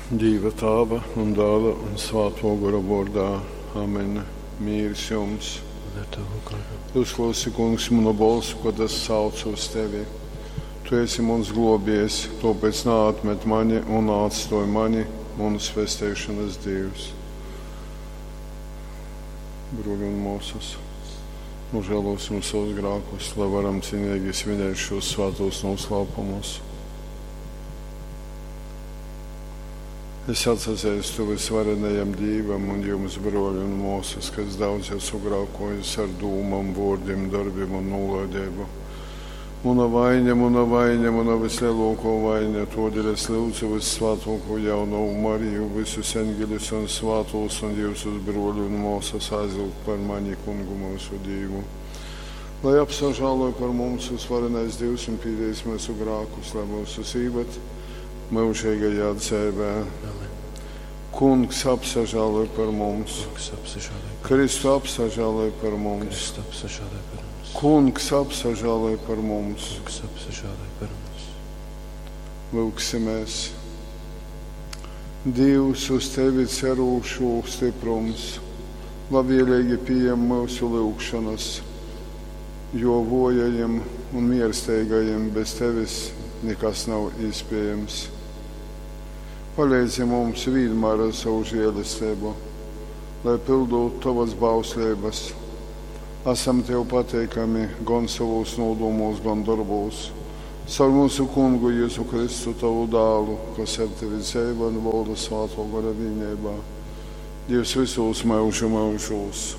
Dīva Tāva un Dāla un Svātō Gora vōrdā. Amen. Mīrs jums. Un ar tavu garu. Uzklausi, Kungs, munu bolsu, kad es saucu uz tevi. Tu esi muns glōbiejs, tōpēc naatmet mani un naatstōj mani, munas pesteišonas Dīvs. Bruļi un mōsas, nožēlosim savus grākus, lai varam cienīgi svinēt šos svētos noslēpumus. Es atsazeistu visvarenajam Dīvam un jums, broļi un māsas, ka es daudz esmu grākojis ar dūmām, vārdiem, darbiem un nolaidību. Muna vaina, muna vaina, muna vislielākā vaina, todēļ es lūdzu vissvētāko jaunavu Mariju, visus eņģeļus un svētos un jūsus broļu un māsas aizlūgt par mani, kungu mūsu Dievu. Lai apsažāloj par mums uzvarenais Dievs un pīdīs mūsu grākus, lai mūsu īvet mūžīgajā dzīvē. Amen. Kungs apsažāloj par mums, Kungs apsažāloj par Kristu apsažāloj par mums, Kristu apsažāloj par mums. Kungs apsažāloj par mums. Kungs apsažāloj par mums. Lūksimies! Dievs uz tevi cerūšu stiprums, labvēlīgi pieņem mūsu lūgšanas, jo vojajiem un miersteigajiem bez tevis nekas nav iespējams. Palīdzi mums vienmēr ar savu žēlastību, lai pildot tavas bausleibas. Esam tev pateikami gan savos nodomos, gan darbos. Caur mūsu kungu Jēzu Kristu, tavu dēlu, kas ar tevi dzīvo un valda svēto gara vienībā. Dievs visos mūžu mūžos.